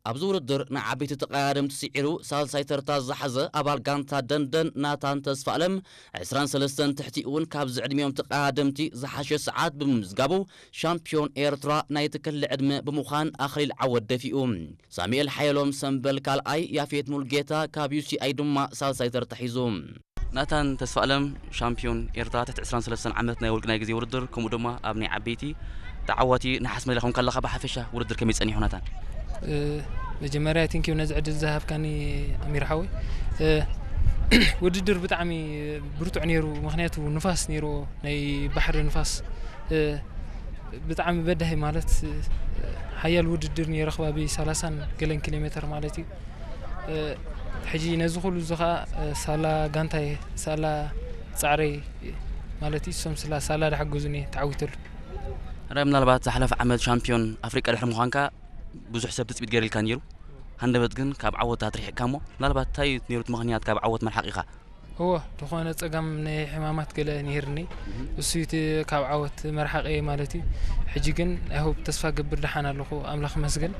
ኣብዚ ውድድር ንዓበይቲ ተቐዳደምቲ ስዒሩ ሳልሳይ ተርታ ዝሓዘ ኣባል ጋንታ ደንደን ናታን ተስፋኣለም ዕስራን ሰለስተን ትሕቲ እውን ካብዚ ዕድሚኦም ተቐዳደምቲ ዝሓሸ ሰዓት ብምምዝጋቡ ሻምፒዮን ኤርትራ ናይቲ ክሊ ዕድመ ብምዃን ኣኽሊል ዓወት ደፊኡ። ሳሙኤል ሓየሎም ሰምበል ካልኣይ፣ ያፌት ሙልጌታ ካብ ዩ ሲ ኣይ ድማ ሳልሳይ ተርታ ሒዙ። ናታን ተስፋኣለም ሻምፒዮን ኤርትራ ትሕቲ ዕስራን ሰለስተን ዓመት ናይ ውልቂ ናይ ግዜ ውድድር ከምኡ ድማ ኣብ ናይ ዓበይቲ ተዓዋቲ ነሓስ መዳልያ ኮንካ ኣለኻ። ብሓፈሻ ውድድር ከመይ ጸኒሑ ናታን? መጀመርያ ቴንኪዩ ነዚ ዕድል ዝሃብካኒ ኣሚር ሓወይ። ውድድር ብጣዕሚ ብርቱዕ ነይሩ፣ ምክንያቱ ንፋስ ነይሩ፣ ናይ ባሕሪ ንፋስ ብጣዕሚ በዳሂ ማለት ሓያል ውድድር ነይሩ፣ ከባቢ ሰላሳን ገለን ኪሎ ሜትር ማለት እዩ። ሕጂ ነዚ ኩሉ እዚ ከዓ ሳላ ጋንታይ ሳላ ጻዕረይ ማለት እዩ፣ እሶም ስላ ሳላ ዳሓገዙኒ ተዓዊተሉ። ራይ ምናልባት ዝሓለፈ ዓመት ሻምፒዮን ኣፍሪቃ ድሕሪ ምዃንካ ብዙሕ ሰብ ትፅቢት ገይሩልካ ነይሩ። ሃንደበት ግን ካብ ዓወት ኣትሪሕካ እሞ ምናልባት እንታይ እዩ ነይሩ እቲ ምኽንያት ካብ ዓወት መርሓቂኻ? እወ ዝኾነ ፀገም ናይ ሕማማት ገለ ነይርኒ፣ እሱ እቲ ካብ ዓወት መርሓቂ ማለት እዩ። ሕጂ ግን ኣይሆብ ተስፋ ገብር ደሓን ኣለኹ ኣምላኽ መስገን።